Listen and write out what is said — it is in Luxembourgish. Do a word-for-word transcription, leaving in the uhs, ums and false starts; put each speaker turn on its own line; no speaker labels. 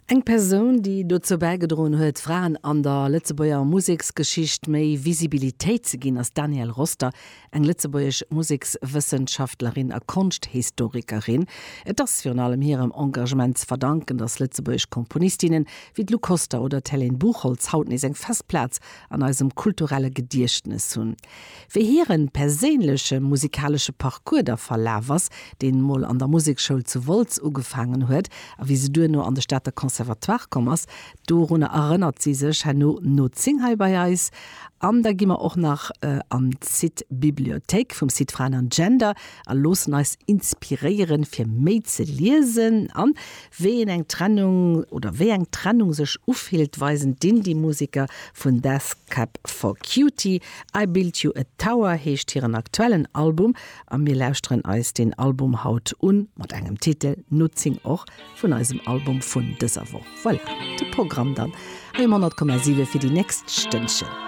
Eng Persoun, déi dozou bäigedroen huet, Fraen an der Lëtzebuerger Museksgeschicht méi Visibilitéit ze ginn, ass d'Danielle Roster, eng lëtzebuergesch Musekswëssenschaftlerin a Konschthistorikerin. Et ass virun allem hirem Engagement ze verdanken, datt lëtzebuergesch Komponistinnen wéi d'Lou Koster oder d'Hélène Buchholtz haut nees eng fest Plaz an eisem kulturelle Gediechtnes hunn. Wéi hire perséinleche musikalesche Parcours da verlaf ass, deen mol an der Musekschoul zu Wolz ugefaangen huet a wéi se duerno an de Stater Conservatoire komm ass, dorunner erënnert si sech herno no zéng hei bei eis. An da gi mer och nach an d'Site Bibliothéik vum Site Fraen an Gender a loossen eis inspiréieren, fir méi ze liesen. An wéi een eng Trennung oder wéi eng Trennung sech ufillt, weisen d'Indie-Museker vun Death Cab for Cutie. I Built You a Tower heescht hiren aktuellen Album a mir lauschteren eis deen Album haut un, mat engem Titel no zéng och vun eisem Album vun dëser Woch. Voilà, de Programm dann hei um honnert Komma siwe fir déi nächst Stënnchen.